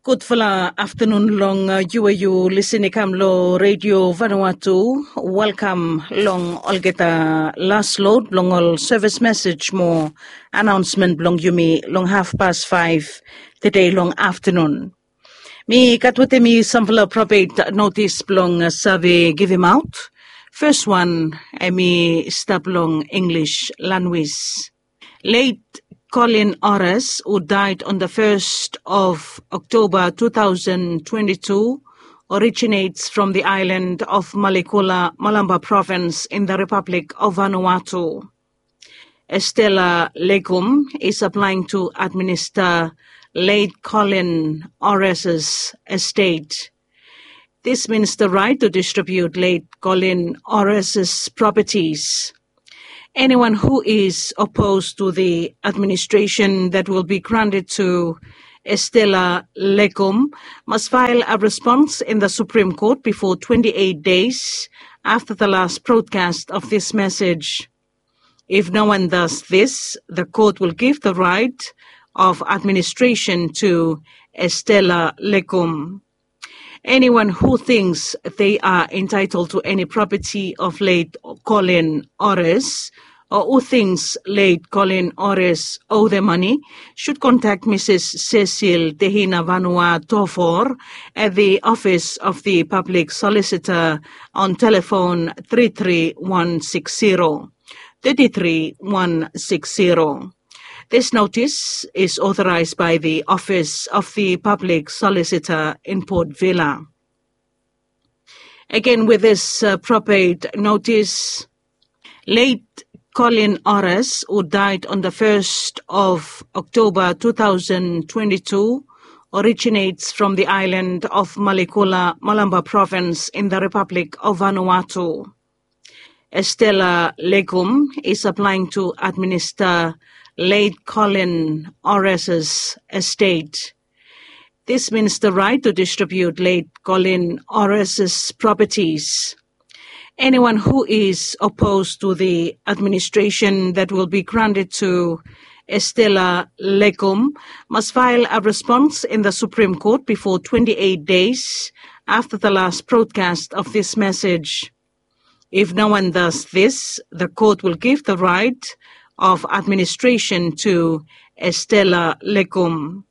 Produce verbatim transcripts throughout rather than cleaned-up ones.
Gudfala aftanun long yu we yu lisin i kam long Redio Vanuatu. Welkam long olgeta las lod blong ol sevis mesej mo anaonsmen blong yumi long hafpas faef tede long aftanun. Mi gat wetem mi samfala propet notis blong save givimaot. Fes wan, em i stap long Inglis lanwis. Late Colin Oris, who died on the first of October two thousand twenty-two, originates from the island of Malikula, Malampa Province in the Republic of Vanuatu. Estella Legum is applying to administer late Colin Oris's estate. This means the right to distribute late Colin Oris's properties. Anyone who is opposed to the administration that will be granted to Estella Legum must file a response in the Supreme Court before twenty-eight days after the last broadcast of this message. If no one does this, the court will give the right of administration to Estella Legum. Anyone who thinks they are entitled to any property of late Colin Oris, or who thinks late Colin Oris owe the money, should contact Missus Cecil Tehina Vanua Tofor at the office of the public solicitor on telephone three three one six zero. Thirty-three one six zero. This notice is authorized by the Office of the Public Solicitor in Port Vila. Again, with this uh, propate notice, late Colin Oris, who died on the first of October two thousand twenty-two, originates from the island of Malikula, Malampa Province in the Republic of Vanuatu. Estella Legum is applying to administer late Colin Oris's estate. This means the right to distribute late Colin Oris's properties. Anyone who is opposed to the administration that will be granted to Estella Legum must file a response in the Supreme Court before twenty-eight days after the last broadcast of this message. If no one does this, the court will give the right of administration to Estella Legum.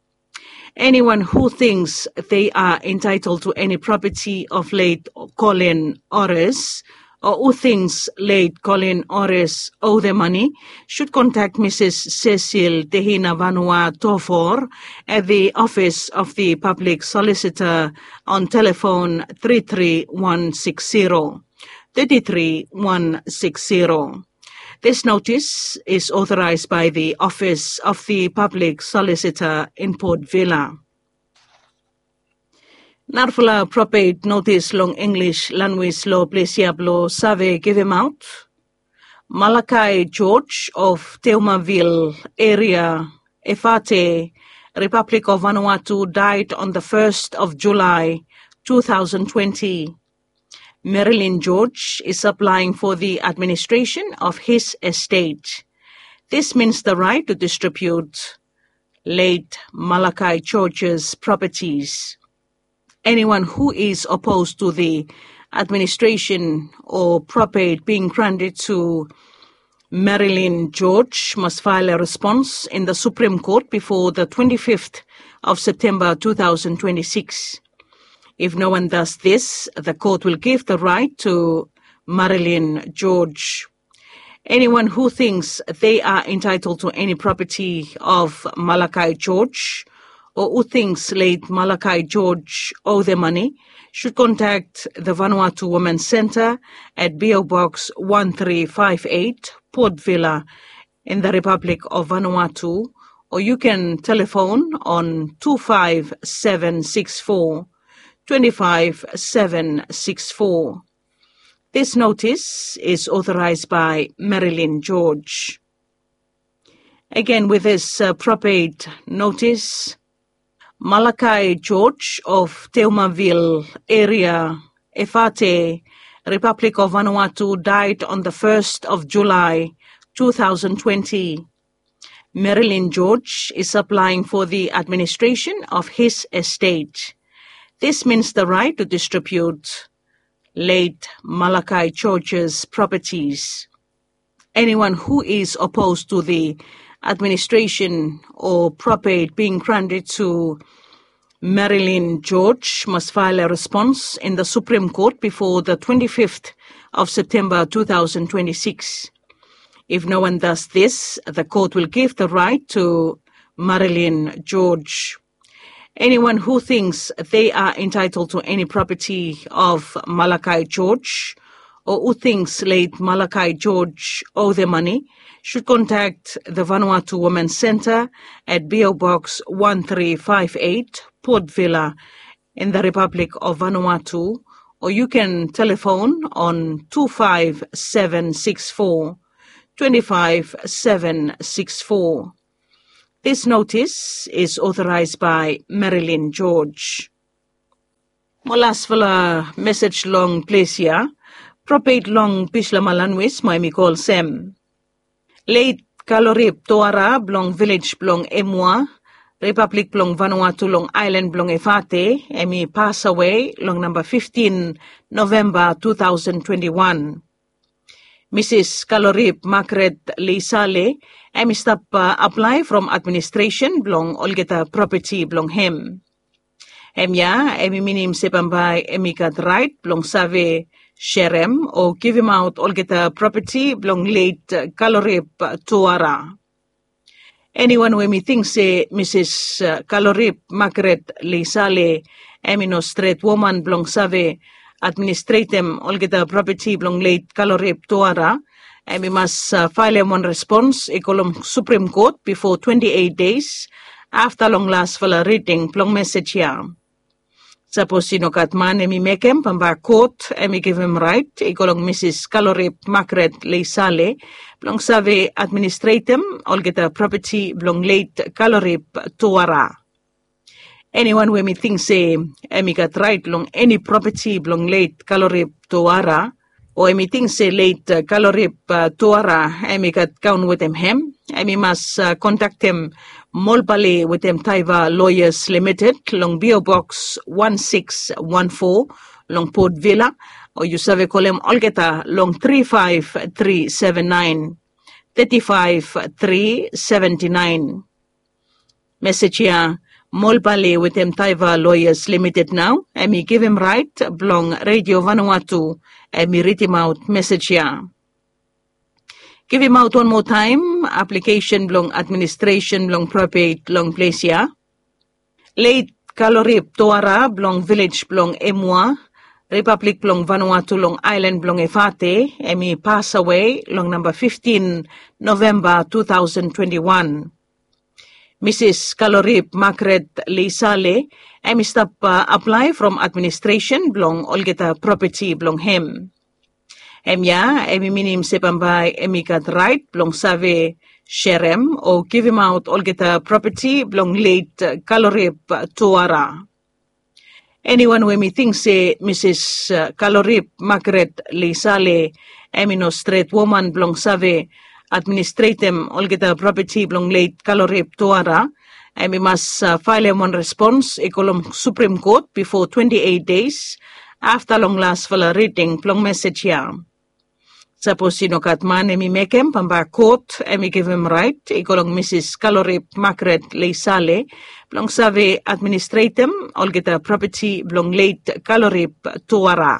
Anyone who thinks they are entitled to any property of late Colin Oris, or who thinks late Colin Oris owe the money, should contact Missus Cecil Tehina Vanua Tofor at the office of the public solicitor on telephone three three one six zero. Thirty-three one six zero. This notice is authorized by the Office of the Public Solicitor in Port Vila. Narafala propate notis long English lanwis long ples ya blong save givimaot. Malakai George of Teumaville area, Efate, Republic of Vanuatu, died on the first of July two thousand twenty. Marilyn George is applying for the administration of his estate. This means the right to distribute late Malakai George's properties. Anyone who is opposed to the administration or probate being granted to Marilyn George must file a response in the Supreme Court before the twenty-fifth of September two thousand twenty-six. If no one does this, the court will give the right to Marilyn George. Anyone who thinks they are entitled to any property of Malakai George or who thinks late Malakai George owe the money should contact the Vanuatu Women's Centre at P O Box one three five eight, Port Vila, in the Republic of Vanuatu, or you can telephone on two five seven six four, twenty-five seven six four. This notice is authorized by Marilyn George. Again, with this uh, probate notice, Malakai George of Teumaville area, Efate, Republic of Vanuatu, died on the first of July two thousand twenty. Marilyn George is applying for the administration of his estate. This means the right to distribute late Malachi George's properties. Anyone who is opposed to the administration or probate being granted to Marilyn George must file a response in the Supreme Court before the twenty-fifth of September two thousand twenty-six. If no one does this, the court will give the right to Marilyn George. Anyone who thinks they are entitled to any property of Malachi George or who thinks late Malachi George owe the money should contact the Vanuatu Women's Centre at P O Box one three five eight, Port Vila, in the Republic of Vanuatu, or you can telephone on two five seven six four, twenty-five seven six four. This notice is authorized by Marilyn George. Mo lasfala mesej long ples ya, probate long Bisla Malanwis mo hemi kol sem. Leit Kalorip Toara blong vilej blong Emua, Ripablik blong Vanuatu long aelan blong Efate, hemi pasawe long namba fiftin Novemba two thousand twenty-one. Misis Kalorip Margaret Leisale, hemi stap aplae from administresen blong olgeta propati blong hem. Hemia hemi minim se bambae hemi gat raet blong save serem o givimaot olgeta propati blong leit Kalorip Toara. Eniwan we hemi ting se Misis Kalorip Margaret Leisale hemi no stret woman blong save administretem olgeta propati blong leit Kalorip Toara, hemi mas faelem wan respons i go long Supreme Court bifo twenti eit deis afta long lasfala riding blong mesej ya. Sapos i no gat man hemi mekem, bambae kot hemi givim raet i go long Misis Kalorip Margaret Leisale blong save administretem olgeta propati blong leit Kalorip Toara. Eniwan we hemi ting se hemi gat raet long eni propati blong leit Kalorip Toara, o hemi ting se leit Kalorip Toara hemi gat kaon wetem hem, hemi mas kontaktem Molbale wetem Taiva Lawyers Limited long P O Box one six one four long Port Vila, o yu save kolem olgeta long tri faef tri seven naen, teti faef tri seventi naen. Mesej ya, Molbale wetem Taiva Lawyers Limited nao hemi givim raet blong Redio Vanuatu hemi ridimaot mesej ya. Givimaot wan moa taem aplikesen blong administresen blong probate long ples ya. Leit Kalorip Toara blong vilej blong Emua, Ripablik blong Vanuatu long aelan blong Efate, hemi pasawe long namba fiftin Novemba two thousand twenty-one. Misis Kalorip Margaret Leisale hemi stap aplae from administresen blong olgeta propati blong hem. Hemia hemi minim se bambae hemi gat raet blong save serem o givimaot olgeta propati blong leit Kalorip Toara. Eniwan we hemi ting se Misis Kalorip Margaret Leisale hemi no stret woman blong save administretem olgeta propati blong leit Kalorip Toara, hemi mas faelem wan respons i go long Supreme Court bifo twenti eit deis afta long lasfala riding blong mesej ya. Sapos i no gat man hemi mekem, bambae kot hemi givim raet i go long Misis Kalorip Margaret Leisale blong save administretem olgeta propati blong leit Kalorip Toara.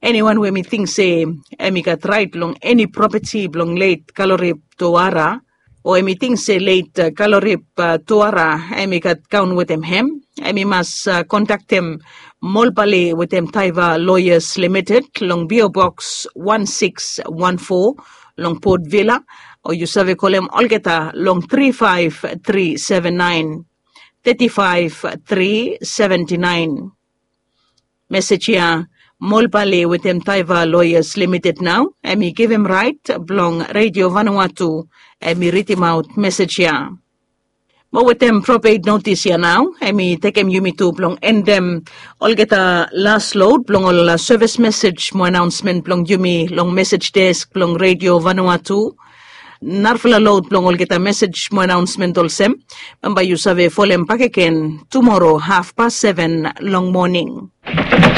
Eniwan we hemi ting se hemi gat raet long eni propati blong leit Kalorip Toara, o hemi ting se leit Kalorip Toara hemi gat kaon wetem hem, hemi mas kontaktem Molbale wetem Taiva Lawyers Limited long P O Box one six one four long Port Vila, o yu save kolem olgeta long tri faef tri seven naen, teti faef tri seventi naen. Mesej ya, Molbale wetem Taiva Lawyers Limited nao hemi givim raet blong Redio Vanuatu hemi ridimaot mesej ya. Mo wetem probate notis ya nao hemi tekem yumi tu blong endem olgeta las lod blong ol sevis mesej mo anaonsmen blong yumi long mesej desk blong Redio Vanuatu. Narafala lod blong olgeta mesej mo anaonsment olsem, bambae yu save folem bakegen tumoro hafpas seven long moning.